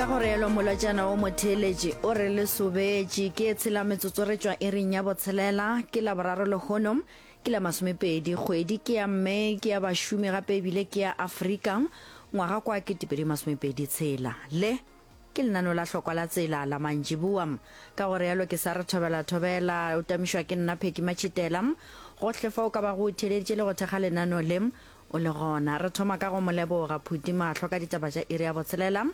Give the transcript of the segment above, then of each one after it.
Ka go realo molwetšana o motheeletši o re le sobetše ke tshela metsotso re tšwa iring ya botshelela ke laboraro lehono ke la masomepedi kgwedi ke ya mme ke ya bašomi gape ebile ke ya Afrika ngwaga kwa 2027 tshela le Ke lenaneo la hlokwa la tsela la mantšiboa. Ka go realo ke sa re thobela thobela, o tamišwa ke nna Phecky Matšhitela. Gohle fa o ka bago o theeleditše le go thekga lenaneo le, o le gona. Re thoma ka go mo leboga Phuti Mahlo ka ditaba tša iri ya botshelela,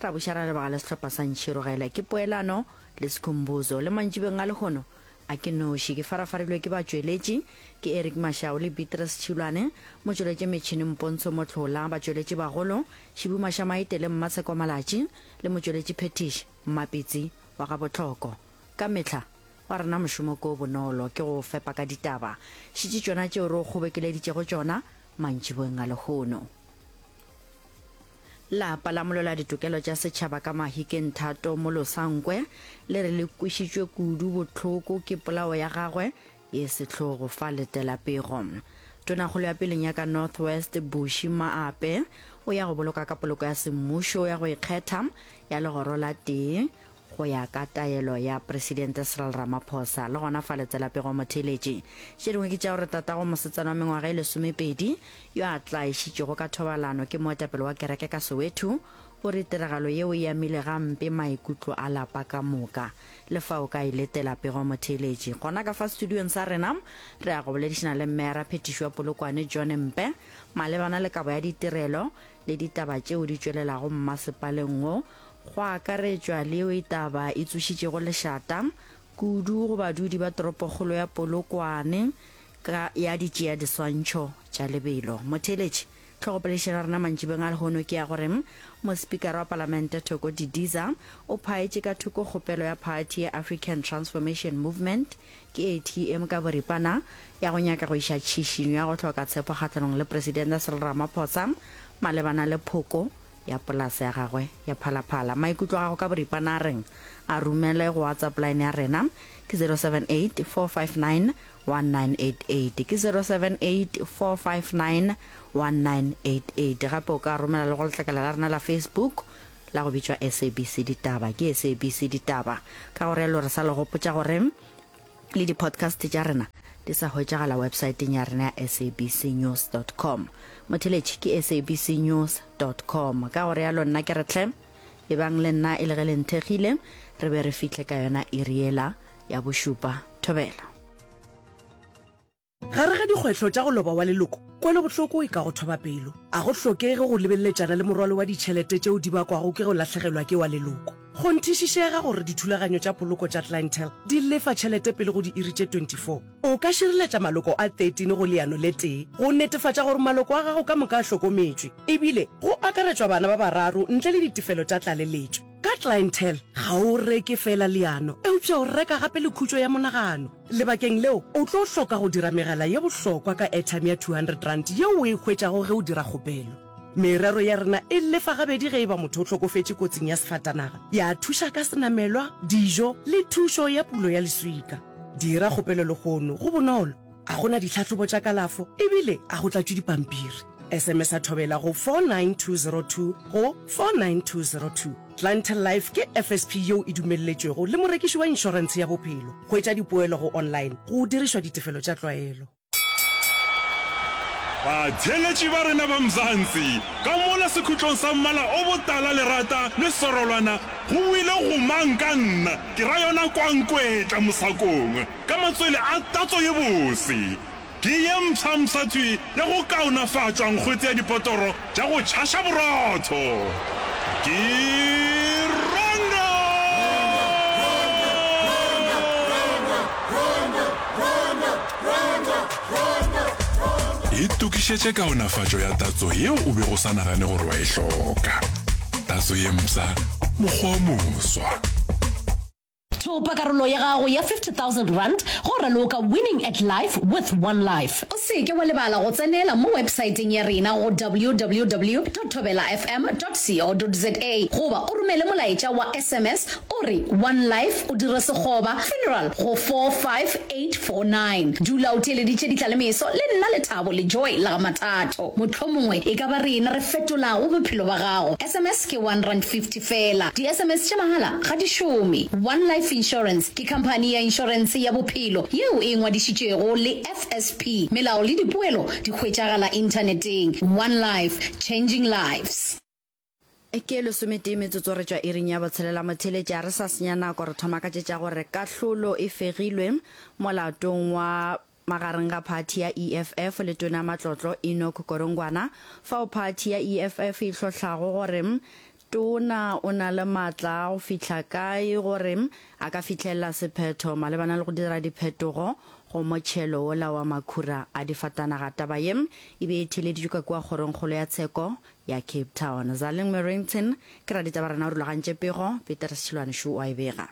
ra buša ra leboga le sehlopha sa Ntšhirogele. Ke poelano le Sikhumbuzo. Le mantšibeng a lehono a ke noši, ke farafarilwe ke batšweletši, ke Eric Mashau le Beatrice Tšhilwane, motšweletši metšhini Mpontsho Mohlola, batšweletši bagolo, Šibu Mašamaite le Mmatsheko Malatši, le motšweletši phethiši, Mmapitsi wa ga Botlhoko. Ka mehla, wa rena mošomo ke o bonolo, ke go o fepa ka ditaba. Šetše tšona tšeo re o kgobekeleditšego tšona mantšiboeng a lehono. Lapa la molweladitokelo tša setšhaba ka Mahikeng Thato Molosankwe le re le kwešitšwe kudu bohloko ke polao ya gagwe ye sehlogo fa letela pego. Tonakgolo ya peleng ya ka North West Bushy Maape o ya go boloka ka poloko ya semmušo ya go ikgetha ya legoro la tee go ya ka taelo ya Presidente Cyril Ramaphosa. Le gona fa letela pego motheeletši. Tše dingwe ke tša gore tatago mosetsana wa mengwaga e lesomepedi yo a tlaišitšwego ka thobalano ke moetapele wa kereke ka Soweto o re tiragalo yeo e amile gampe maikutlo a lapa ka moka. Le fa o ka e letela pego motheeletši. Gona ka fa studiong sa rena re ya go boledišana le Mmeara Phetiši wa Polokwane John Mpe malebana le kabo ya ditirelo le ditaba tšeo di tšwelelago mmasepaleng wo go akaretšwa le yeo e taba e tsošitšego lešata kudu go badudi ba toropokgolo ya Polokwane ka ya ditšea diswantšho tša lebelo. Motheeletši Tlhogopoledišano ya rena mantšibeng a lehono ke ya gore Mospikara wa Palamente Thoko Didiza o phaetše ka thoko kgopelo ya phathi ya African Transformation Movement, ke ATM ka boripana, ya go nyaka go iša tšhišinyo ya go hloka tshepo kgahlanong le Presidente Cyril Ramaphosa malebana le phoko ya polase ya gagwe ya Phalaphala. Maikutlo a gago ka boripana a reng? A romele go WhatsApp line ya rena ke 078 459 1988 ke 0784591988. Gape o ka romela le go letlakala la rena la Facebook la go bitšwa SABC Ditaba, ke SABC Ditaba. Ka go realo re sa le gopotša gore le di-podcast tša rena di sa hwetšagala websaeteng ya rena ya sabcnews.com. Motheletši ke sabcnews.com. Ka go realo nna ke re hle, ebang le nna e le ge le nthekgile, re be re fihle ka yona iri yela ya bošupa. Thobela. Gare ga dikgwehlo tša go loba wa leloko, kwelobohloko e ka go thoba pelo. A go hlokege go lebeleletšana le morwalo wa ditšhelete tšeo di bakwago ke go lahlegelwa ke wa leloko. Kgonthišišega gore dithulaganyo tša poloko tša Clientele di lefa tšhelete pele go diiri tše 24. O ka šireletša maloko a 13 go leano le tee go netefatša gore maloko a gago ka moka a hlokometšwe, ebile go akaretšwa bana ba bararo ntle le ditefelo tša tlaleletšo. Ka Clientele, ga o reke feela leano, eupša o reka gape le khutšo ya monagano. Lebakeng leo, o tlo hloka go dira megala ye bohlokwa ka airtime ya R200 yeo o e hwetšago ge o dira kgopelo. Merero ya rena e lefa gabedi ge e ba motho o hlokofetše kotsing ya sefatanaga, ya thuša ka senamelwa, dijo le thušo ya pulo ya leswika. Dira kgopelo lehono, go bonolo, ga go na ditlhahlobo tša kalafo ebile ga go tlatšwe dipampiri. SMS-a Thobela go 49202 go 49202. Clientele Life ke FSP yeo e dumelletšwego le morekiši wa inšorentshe ya bophelo. Hwetša dipoelo go online go dirišwa ditefelo tša tlwaelo. Batheeletši ba rena ba Mzansi, ka mola sekhutlong sa mmala o botala lerata le serolwana go boile gomang ka nna, ke ra yona kwankwetla mosakong ka matswele a tatso ye bose. Ke ye mpsha-mpsha thwi ya go kaonafatšwa nkgwete ya dipotoro tša go tšhaša borotho. Ke Rondo! Itokišetše kaonafatšo ya tatso yeo o bego o sa nagane gore wa e hloka. Tatso ye mpsha, mokgwa o moswa. Thopa karolo ya gago ya R50,000 go raloka Winning at Life with One Life. O se ke wa lebala go tsenela mo websaeteng ya rena go www dot thobelafm dot co dot za goba o romele molaetša wa SMS o. O re One Life o dire sekgoba, funeral, go 45849. Dula o theeleditše Ditlalemeso le nna Lethabo le Joy la ga Mathatho. Mohlomongwe e ka ba rena re fetolago bophelo ba gago. Sms ke R1.50 feela. Di-sms tša mahala ga di šome. One Life Insurance ke khamphani ya inšorense ya bophelo yeo e ngwadišitšwego le FSP. Melao le dipoelo di hwetšagala inthaneteng. One Life, changing lives. Ke lesometee metsotso re tšwa iring ya botshelela motheeletši a re sa senya nako re thoma ka tše tša gore kahlolo e fegilwe molatong wa magareng ga phathi ya EFF le tona ya matlotlo Enoch Godongwana fao phathi ya EFF e hlohlago gore tona o na le maatla a go fihla kae gore a ka fihlelela sephetho malebana le go dira diphetogo go motšhelo wola wa makhura a difatanaga. Taba ye e be e theeleditšwe ka kua kgorongkgolo ya tsheko ya Cape Town. Zaleng Merrington ke raditaba rena o rulagantše pego, Peter Sechilwane šo o a e bega.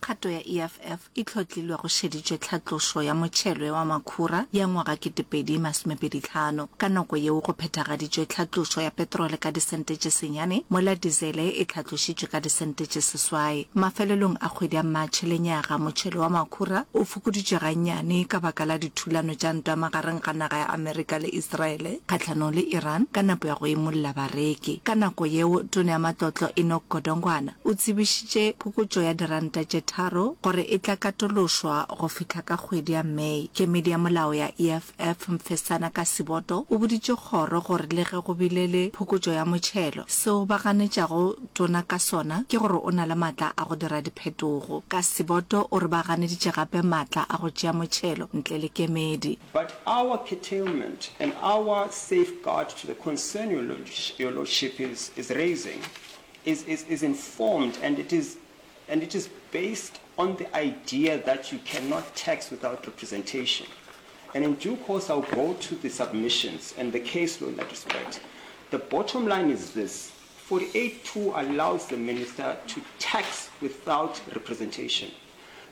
Kgato ya EFF e hlotlilwe go šeditšwe tlhatlošo ya motšhelo wa makhura ya ngwaga 2025. Ka nako yeo go phethagaditšwe tlhatlošo ya petrole ka disente tše senyane mola dizele e tlhatlošitšwe ka disente tše seswai. Mafelelong a kgwedi ya Matšhe lenyaga motšhelo wa makhura o fokoditšwe gannyane ka baka la dithulano tša ntwa magareng ga naga ya Amerika le Israele kgahlanong le Iran ka nepo ya go imolla bareki. Ka nako yeo, Tona ya Matlotlo Enoch Godongwana o tsebišitše phokotšo ya diranta tše tharo gore e tla katološwa go fihla ka kgwedi ya May. Kemedi ya molao ya EFF Mfesana Kasiboto o boditše kgoro gore le ge go bile le phokotšo ya motšhelo, seo ba ganetšago Tona ka sona ke gore o na le maatla a go dira diphetogo. Kasiboto o re ba ganeditše gape maatla a go tšea motšhelo ntle le kemedi. But our curtailment and our safeguard to the concern your your lordship is is raising is is is informed and it is and it is based on the idea that you cannot tax without representation. And in due course I'll go to the submissions and the case law in that respect. The bottom line is this, 48.2 allows the minister to tax without representation.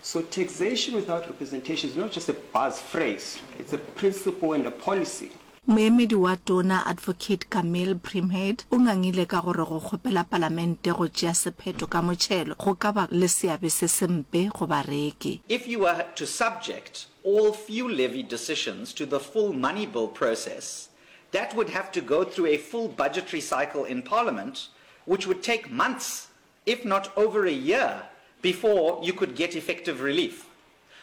So taxation without representation is not just a buzz phrase, it's a principle and a policy. Moemedi wa Tona Advocate Kameel Primhead o ngangile ka gore go kgopela Palamente go tšea sephetho ka motšhelo go ka ba le seabe se sempe go bareki. If you were to subject all fuel levy decisions to the full money bill process, that would have to go through a full budgetary cycle in Parliament, which would take months, if not over a year, before you could get effective relief.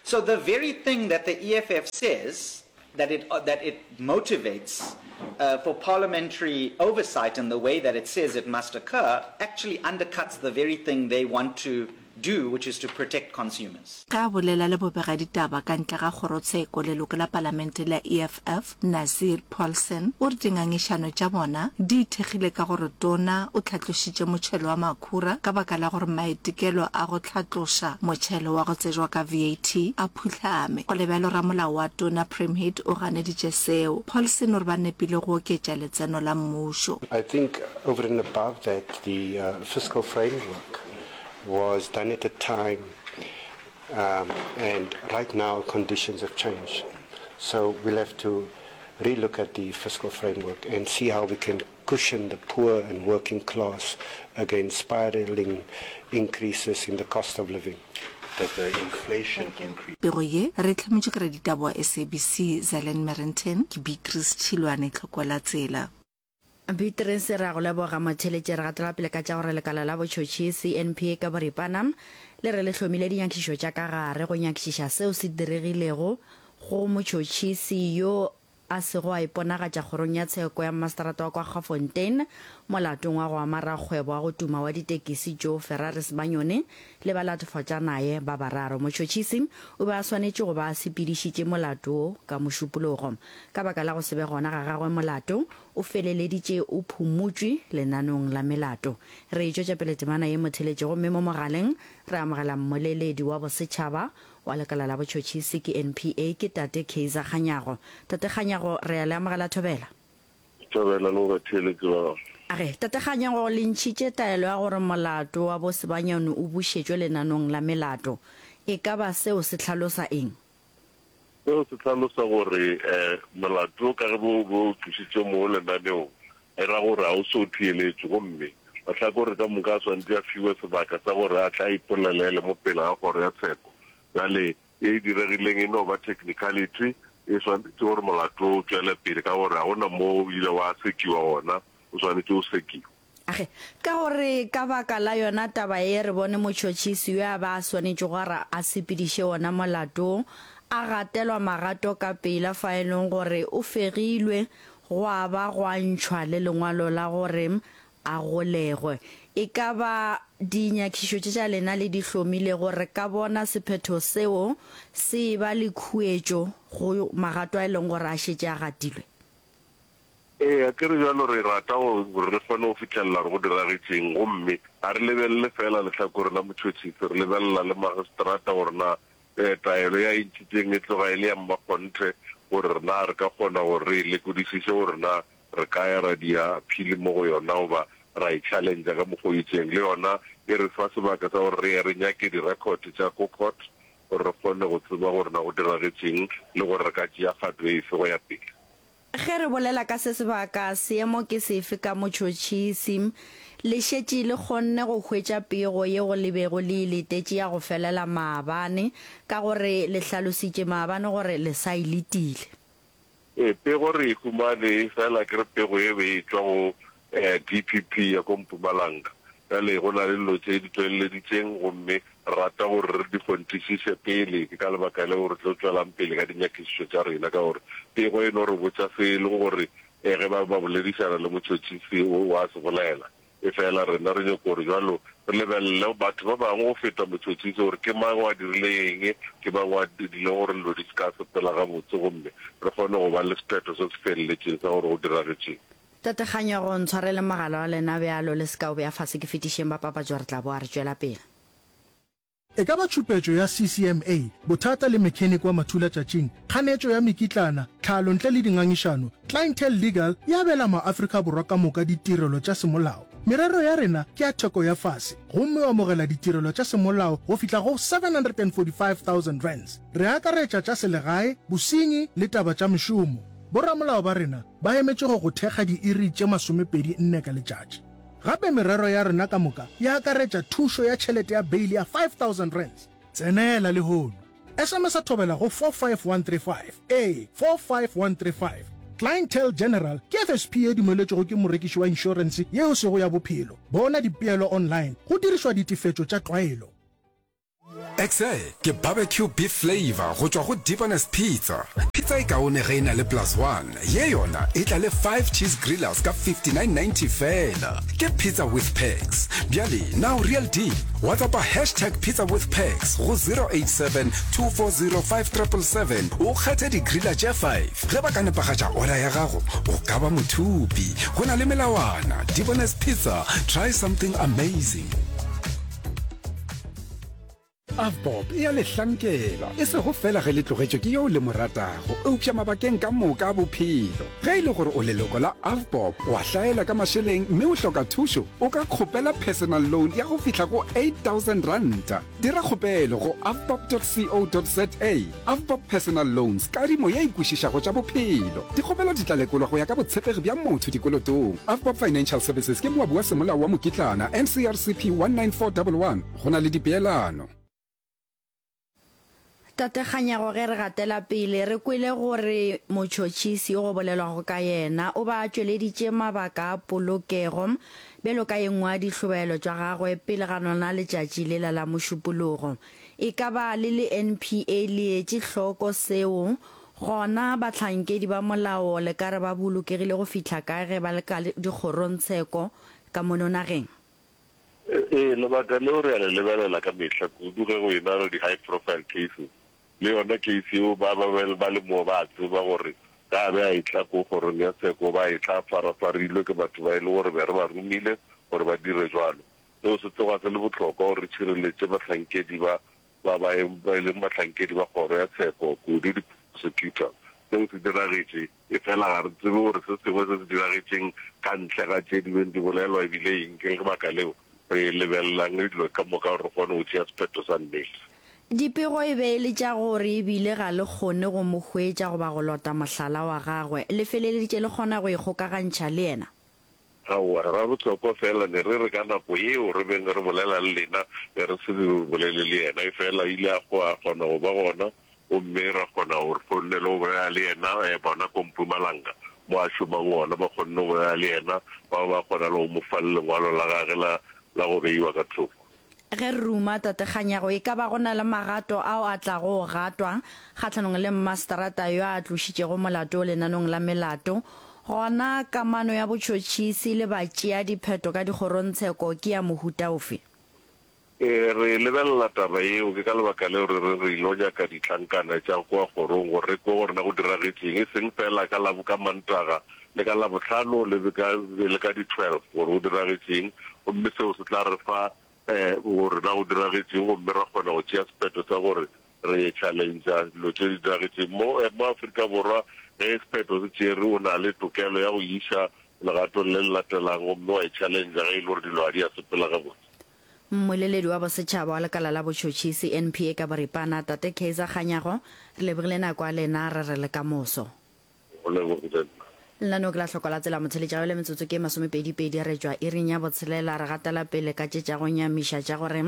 So the very thing that the EFF says that it, uh, that it motivates uh, for parliamentary oversight in the way that it says it must occur actually undercuts the very thing they want to do, which is to protect consumers. Ge a bolela le bobegaditaba ka ntle ga kgorotsheko, leloko la palamente la EFF, Nazir Paulsen, o re dingangišano tša bona di ithekgile ka gore tona o hlatlošitše motšhelo wa makhura ka baka la gore maitekelo a go hlatloša motšhelo wa go tsejwa ka VAT a phuhlame. Go le bjalo, ramolao wa tona Premhid o ganeditše seo. Paulsen o re ba nepile go oketša letseno la mmušo. I think over and above that the fiscal framework was done at a time um, and right now conditions have changed. So we'll have to relook at the fiscal framework and see how we can cushion the poor and working class against spiraling increases in the cost of living. That the inflation increase. Pego ye re e hlametšwe ke raditaba wa SABC Zalen Merrington, ke Beatrice Tšhilwane, Tlhokwalatsela. Beatrice, Re a go leboga motheeletši. Re gatela pele ka tša gore lekala la botšhotšhisi, NPA ka boripana, le re le hlomile dinyakišišo tša ka gare go nyakišiša seo se diregilego go motšhotšhisi yo a sego a iponagatša kgorong ya tsheko ya mmaseterata wa Kwaggafontein molatong wa go ama rakgwebo wa go tuma wa ditekisi Joe Ferrari Sibanyoni le balatofatšanaye ba bararo. Motšhotšhisi o be a swanetše go ba a sepedišitše molato wo ka Mošupologo. Ka baka la go se be gona ga gagwe molato o feleleditše o phumotšwe lenanong la melato. Re e tšwetša pele temana ye motheletše gomme mo mogaleng re amogela mmoleledi wa bosetšhaba wa lekala la botšhotšhisi ke NPA ke Tate Kaizer Kganyago. Tate Kganyago re a le amogela Thobela. Thobela le go batheeletši ba gago. A re, Tate Kganyago le ntšhitše taelo ya gore molato wa bo Sebanyoni o bušetšwe lenanong la melato. E ka ba seo se hlalosa eng? Seo se hlalosa gore molato ka ge bo bo tlošitšwe mo lenaneong, e ra gore ga o so theeletšwe gomme Mahlakore ka moka a swanetše a fiwe sebaka sa gore a tle a ipolelele mo pele ga kgoro ya tsheko. Bjale ye e diregileng e no ba technicality, e swanetše gore molato o tšwele pele ka gore ga go na mo o ile wa sekiwa gona, o swanetše o sekiwe. Age, ka gore ka baka la yona taba ye re bone motšhotšhisi yo a ba a swanetšego gore a sepediše wona molato a gatelwa magato ka pela fa e leng gore o fegilwe gwa ba gwa ntšhwa le lengwalo la gore a golegwe. E ka ba dinyakišišo tše tša lena le di hlomilego re ka bona sephetho seo se eba le khuetšo go magato a e leng gore a šetše a gatilwe? Ee, akere bjalo re rata gore re kgone go fihlelela gore go diragetšeng, gomme ga re lebelele feela lehlakore la motšhotšhisi, re lebelela le magistrata gore na taelo ye a e ntšhitšeng e tloga e le ya mmakgonthe, gore na re ka kgona gore re e lekodišiše gore na re ka ya ra dia appeal mo go yona goba ra e challenge-a ka mokgwa o itšeng. Le yona e re fa sebaka sa gore re ye re nyake di-record tša ko court gore re kgone go tseba gore na go diragetšeng le gore re ka tšea kgato efe go ya pele. Ge re bolela ka se sebaka, seemo ke sefe ka motšhotšhisi? Le šetše le kgonne go hwetša pego yeo le bego le e letetše ya go felela maabane, ka gore le hlalositše maabane gore le sa e letile. Ee, pego re e humane, efela ke re pego e be e tšwa go DPP ya ko Mpumalanga. Bjale go na le dilo tše di tšweleleditšeng gomme re rata gore re di kgonthišiše pele. Ke ka lebaka leo re tlo tšwelang pele ka dinyakišišo tša rena ka gore pego e no re botša se e leng gore ge ba be ba boledišana le motšhotšhisi o a se bolela. Efela rena re nyoko gore bjalo re lebelele batho ba bangwe go feta motšhotšhisi gore ke mang o a dirile eng, ke mang o a dirileng gore dilo di se ka sepela gabotse gomme re kgone go ba le sephetho se se feleletšeng sa gore go diragetšeng. Tate Kganyogo, ntshwareleng mogala wa lena bjalo, le se ka o bea fase, ke fetišeng ba papatšo, re tla boa re tšwela pele. E ka ba tšhupetšo ya CCMA, bothata le mechanic wa mathulatšatšing, kganetšo ya mekitlana, tlhalo ntle le dingangišano, Clientele Legal e abela maAfrika Borwa ka moka ditirelo tša semolao. Merero ya rena ke ya theko ya fase gomme o amogela ditirelo tša semolao go fihla go R745,000. Re akaretša tša selegae, bosenyi le taba tša mešomo. Boramolao ba rena Ba emetše go go thekga diiri tše masomepedi nne ka letšatši. Gape merero ya rena ka moka e akaretša thušo ya tšhelete ya beili ya R5000. Tsenela lehono. SMS-a thobela go 45135. Ee, 45135. Clientele General ke FSP ye dumeletšwego ke morekiši wa inšorense ye e sego ya bophelo. Bona dipeelo online go dirišwa ditefetšo tša tlwaelo. XL ke barbecue beef flavour go tšwa go Debonair's Pizza. Pizza e kaone ge e na le plus one, ye yona e tla le five cheese grillers ka 59.90 feela. Ke pizza with perks. Bjale na o real deal? WhatsAppa hashtag pizza with perks go 087 240 5777 o kgethe di-griller tše five. Ge ba ka nepagatša order ya gago, o ka ba mothupi. Go na le melawana. Debonair's Pizza, try something amazing. Avbob e a le hlankela, e sego feela ge le tlogetšwe ke yo le mo ratago, eupša mabakeng ka moka a bophelo. Ge e le gore o leloko la Avbob, wa hlaela ka mašeleng mme o hloka thušo, o ka kgopela personal loan ya go fihla go R8000. Dira kgopelo go avbob.co.za. Avbob Personal Loans, kadimo ye e kwešišago tša bophelo. Dikgopelo di tla lekolwa go ya ka botshepegi bja motho dikolotong. Avbob Financial Services ke moabi wa semolao wa mokitlana, NCRCP 19411. Go na le dipeelano. Tate Kganyago ge re gatela pele re kwele gore motšhotšhisi yo go bolelwago ka yena o ba a tšweleditše mabaka a polokego bjalo ka ye nngwe ya dihlobaelo tša gagwe pele ga lona letšatši lela la Mošupologo. E ka ba le le NPA le etše hloko seo? Gona bahlankedi ba molao le ka re ba bolokegile go fihla kae ge ba le ka dikgorongtsheko ka mono nageng? Ee, lebaka leo re a le lebelela ka mehla, kudu ge go ena le di-high profile cases. Le yona case yeo ba ba be ba le moo ba a tseba gore ge a be a etla ko kgorong ya tsheko o ba a etla a farafarilwe ke batho ba e le gore be re ba romile gore ba dire jwalo. Seo se tloga se le bohlokwa gore re tšhireletše bahlankedi ba ba ba e leng bahlankedi ba kgoro ya tsheko, kudu di-prosecutor. Seo se diragetše. Efela ga re tsebe gore se sengwe se se diragetšeng ka ntle ga tše di beng di bolelwa e bile eng. Ke lebaka leo re lebelelang dilo ka moka gore re kgone go tšea sephetho sa nnete. Dipego e be e le tša gore e bile ga le kgone go mo hwetša goba go lota mohlala wa gagwe. Le feleleditše le kgona go ikgokagantšha le yena. Aowa, Rabohlokwa fela ne re re ka nako yeo re beng re bolela le lena be re se re bolele le yena, efela ile a a kgona go ba gona gomme ra kgona go re kgonne le go bolela le yena, bona ko Mpumalanga mo a šomang gona ba kgonne go bolela le yena, ba ba kgona le go mo fa le lengwalo la gage la la go beiwa ka thoko. Ge re ruma Tate Kganyago, e ka ba go na le magato ao a tlago go gatwa kgahlanong le mmaseterata yo a tlošitšego molato lenanong la melato? Gona kamano ya botšhotšhisi le batšeadipheto ka dikgorongtsheko ke ya mohuta ofe? Ee, re lebelela taba yeo. Ke ka lebaka leo re re re ilo nyaka ditlankana tša kua kgorong gore re kwe gore na go diragetšeng, e seng feela ka Labo, ka Mantaga le ka Labohlano le ka, le ka di 12 gore go diragetšeng, gomme seo se tla re fa gore na go diragetšeng gomme ra kgona go tšea sephetho sa gore re challengea dilo tše di diragetšeng mo, mo Afrika Borwa. Ge sephetho se tšerwe, o na le tokelo ya go iša legatong le le latelang gomme wa e challengea ge e le gore dilo ga di a sepela gabotse. Mmoleledi wa bosetšhaba wa lekala la botšhotšhisi, NPA, ka boripana, Tate Kaizer Kganyago, re lebogile nako ya lena, re re le ka moso. Go lebogile nna. Lenaneo ke la Hloko la Tsela Motheletša bjale metsotso ke masomepedipedi re tšwa iring ya botshelela re gatela pele ka tše tša go nyamiša tša gore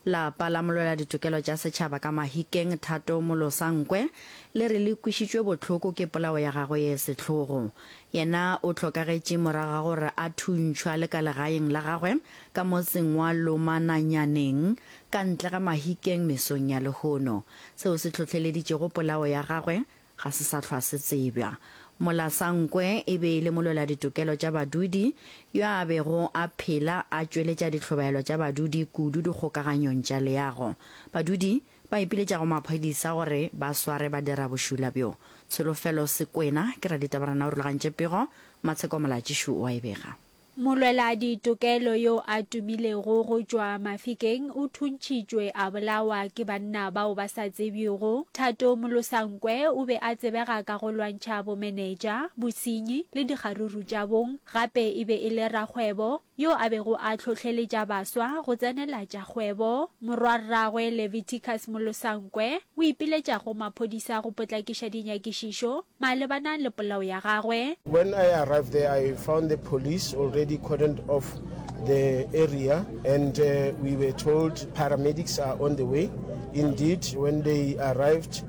lapa la molwela ditokelo tša setšhaba ka Mahikeng Thato Molosankwe le re le kwešitšwe bohloko ke polao ya gagwe ye sehlogo. Yena o hlokagetše morago ga gore a thuntšhwa le ka legaeng la gagwe ka motseng wa Lomananyaneng ka ntle ga Mahikeng mesong ya lehono. Seo se hlohleleditšego polao ya gagwe ga se sa hlwa se tsebja. Molasankwe e be e le molweladitokelo tša badudi yo a bego a phela a tšweletša dihlobaelo tša badudi kudu dikgokaganyong tša leago. Badudi ba ipiletša go maphodisa gore ba sware badirabošula bjo. Tsholofelo Sekwena ke raditabarena o rulagantše pego, Matsheko Molatšišu o a e bega. Molweladitokelo yo a tumilego go tšwa Mafikeng o thuntšhitšwe a bolawa ke banna bao ba sa tsebjego. Thato Molosankwe o be a tsebega ka go lwantšha bomenetša, bosenyi le dikgaruru tša bong. Gape e be e le rakgwebo yo a bego a hlohleletša baswa go tsenela tša kgwebo. Morwarragwe Leviticus Molosankwe o ipiletša go maphodisa go potlakiša dinyakišišo malebana le polao ya gagwe. When I arrived there I found the police already cordoned off the area and we were told paramedics are on the way. Indeed when they arrived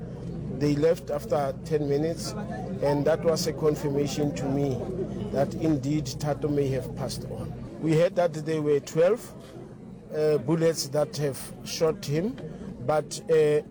they left after 10 minutes and that was a confirmation to me that indeed Thato may have passed on. We heard that there were 12 uh, bullets that have shot him but uh,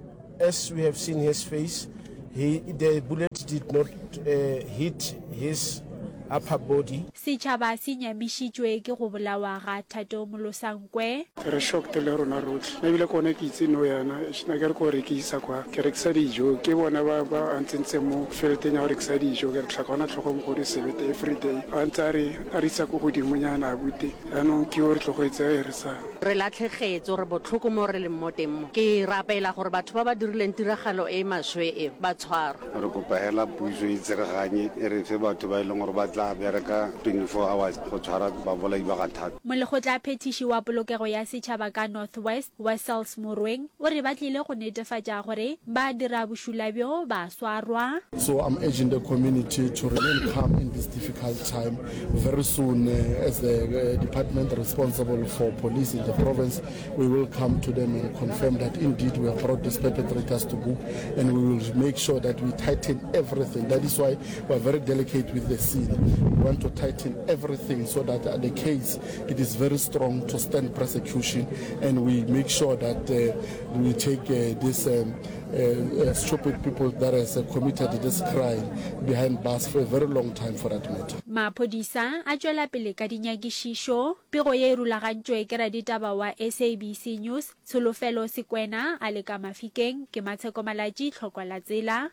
As we have seen his face, he, the bullet did not uh, hit his upper body. Setšhaba se nyamišitšwe ke go bolawa ga Thato Molosankwe. Re shocked le rona rotlhe. Nna ebile ke gone ke itse nou yana, eish nna ke re ko rekisa kwa, ke rekisa dijo, ke bona ba ba a ntsentseng mo fieldeng ya go rekisa dijo, ke re tlhaka gona tlhogo mogodu sebete everyday, a ntse a re a re isa ko godimonyana abuti, jaanong ke yo re tlogetse e re sa. Re latlhegetswe, re botlhoko mo re leng mo teng mo. Ke rapela gore batho ba ba dirileng tiragalo e e maswe e, ba tshwarwe. Re kopa hela puso e tsereganye e re fe batho ba e leng gore ba tla bereka 24 hours go tshwara babolai ba ga Thato. Molekgotlaphethiši wa polokego ya setšhaba ka North West, Wessels Morweng, o re ba tlile go netefatša gore ba dira bošula bjo ba swarwa. So I'm urging the community to remain calm in this difficult time. Very soon, as the department responsible for police in the province, we will come to them and confirm that indeed we have brought these perpetrators to book, and we will make sure that we tighten everything. That is why we are very delicate with the scene. We want to tighten everything so that the case, it is very strong to stand prosecution, and we make sure that uh, we take uh, this um, uh, stupid people that has uh, committed this crime behind bars for a very long time for that matter. Maphodisa a tšwela pele ka dinyakišišo. Pego ye e rulagantšwe ke raditaba wa SABC News, Tsholofelo Sekwena a le ka Mafikeng. Ke Matsheko Malatji, Tlhokwa la Tsela.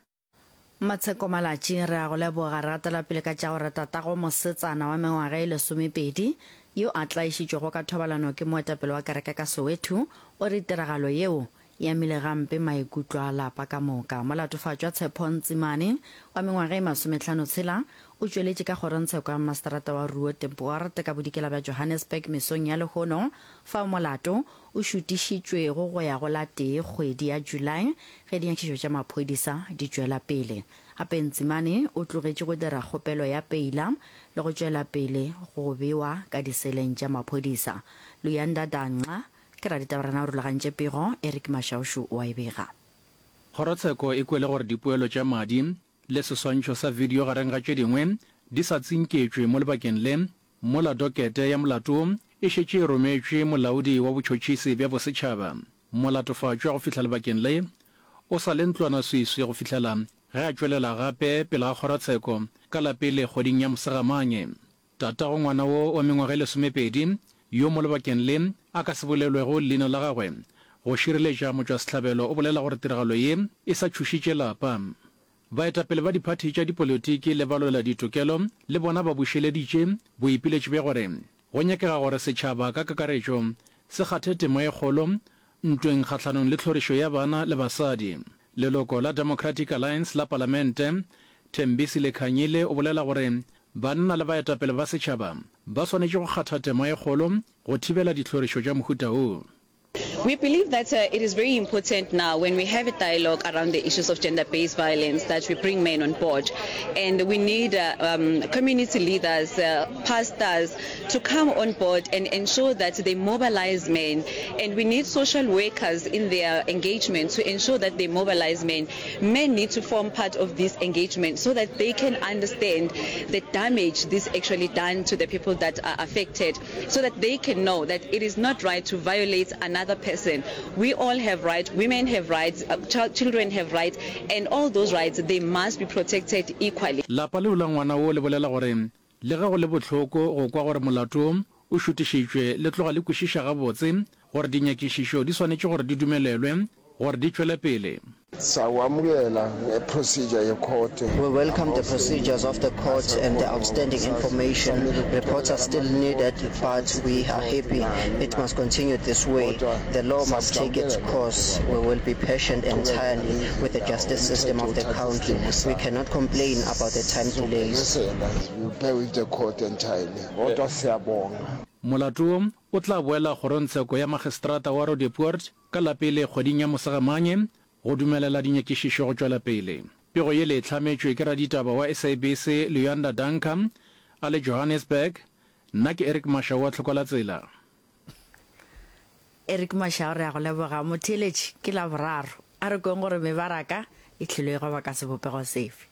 Matsheko Malatji, Re a go leboga. Re gatela pele ka tša gore tatago mosetsana wa mengwaga e lesomepedi yo a tlaišitšwego ka thobalano ke moetapele wa kereke ka Soweto o re tiragalo yeo e amile gampe maikutlo a lapa ka moka. Molatofatšwa Tshepho Ntsimane wa mengwaga e masometlhanotshela o tšweletše ka kgorongtsheko ya mmaseterata wa Roodepoort ka bodikela bja Johannesburg mesong ya lehono fao molato o šutišitšwego go ya go la tee kgwedi ya July ge dinyakišišo tša maphodisa di tšwela pele. Gape Ntsimane o tlogetše go dira kgopelo ya peila le. le go tšwela pele go bewa ka diseleng tša maphodisa. Luyanda Danca ke raditabarena o rulagantše pego, Eric Mashaushu o a e bega. Kgorotsheko e kwele gore dipoelo tša madi le seswantšho sa video gareng ga tše dingwe di sa tsinketšwe mo lebakeng le, mola dokete ya molato wo e šetše e rometšwe molaodi wa botšhotšhisi bja bosetšhaba. Molatofatšwa go fihla lebakeng le o sa le ntlwanaswiswi go fihlela ge a tšwelela gape pele ga kgorotsheko ka la pele kgweding ya Mosegamanye. Tatago ngwana wo wa mengwaga e lesomepedi, yo mo lebakeng le a ka se bolelwego leina la gagwe go šireletša motšwasehlabelo o bolela gore tiragalo ye e sa tšhošitše lapa. Baetapele ba diphathi tša dipolitiki le balweladitokelo le bona ba bušeleditše boipiletšo bja gore go nyakega gore setšhaba ka kakaretšo se kgathe tema e kgolo ntweng kgahlanong le tlhorišo ya bana le basadi. Leloko la Democratic Alliance la Palamente, Thembisile Khanyile o bolela gore banna le baetapele ba setšhaba ba swanetše go kgatha tema e kgolo go thibela ditlhorišo tša mohuta wo. We believe that it is very important now when we have a dialogue around the issues of gender-based violence that we bring men on board, and we need um, community leaders, uh, pastors to come on board and ensure that they mobilize men, and we need social workers in their engagement to ensure that they mobilize men. Men need to form part of this engagement so that they can understand the damage this actually done to the people that are affected, so that they can know that it is not right to violate another person. We all have rights, women have rights, uh, ch children have rights, and all those rights, they must be protected equally. Lapa leo la ngwana wo le bolela gore le ge go le bohloko go kwa gore molato wo o šutišitšwe, le tloga le kwešiša gabotse gore dinyakišišo di swanetše gore di dumelelwe gore di tšwele pele. Sawamukela ngeprocedure yekhothe. We welcome the procedures of the court and the outstanding information. Reports are still needed, but we are happy. It must continue this way. The law must take its course. We will be patient entirely with the justice system of the country. We cannot complain about the time delays. We bear with the court entirely. Kodwa siyabonga. Molato wo o tla boela kgorongtsheko ya Magistrata wa Roodepoort ka la pele kgweding ya Mosegamanye go dumelela dinyakišišo go tšwela pele. Pego yele e hlametšwe ke raditaba wa SABC Luyanda Danker a le Johannesburg. Nna ke Eric Mashau wa Tlhokolatsela. Eric Mashau re a go leboga. Motheeletši, ke Laboraro. A re kweng gore mebaraka e tlilo e goba ka sebopego sefe.